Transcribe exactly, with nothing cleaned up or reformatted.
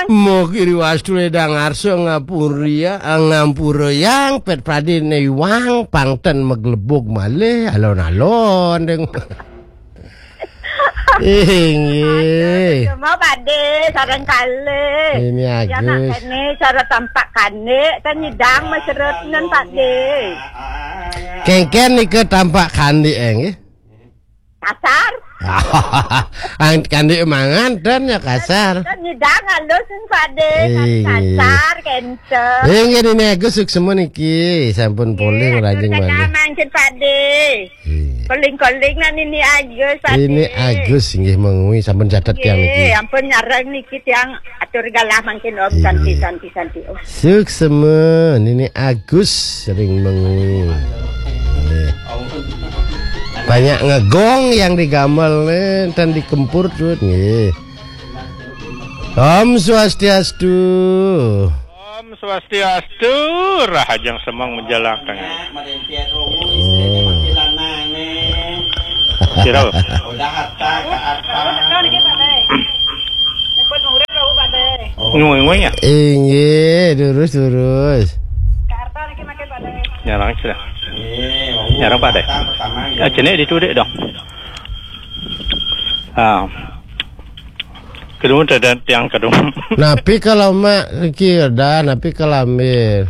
Mugi riwastu ledang arsa ngapuria, ngampura yang pet pradé néwang pangten maglebug malih alon-alon deng. Inggih. Semua Pakdé, sareng kalih. Ini ya, Agus. Nak ini cara tampak kandik, kan nyidang maseret nen Pakdé. Kéngkén nika tampak kandik, eh, nggih? Kasar. Ang kandik mangan dan ya kasar. Kan nyidang halus nen Pakdé, kan Inggih. Kasar, kenceng. Inggih, ini Agus suksma niki, sampun polih Iya, rajin betul, malih. Mangkin Pakdé. Iya. Koling-koling nang ini Agus, Pakdé. Ini Agus inggih mengwi sampun catet tiang niki. Nggih, ampun nyareng niki tiang atur galah mangkin Om. Iya. Santi, santi, santi Om. Suksma, ini Agus sering mengwi. Nggih. Banyak ngegong yang digamel nih, dan dikempur tuh, nggih. Om Swastiastu. Om Swastiastu, rahajeng semeng menjelang tengah. Oh. Sira. Ngui-ngui ya? Inggih, durus, durus. Nyarang sira. Nyarang Pakdé. Ah, jenik ditu, Dik, dong. Ah. Kedua ada tiang kedua. Napi kalau mak iki dah, napi kalau ambil.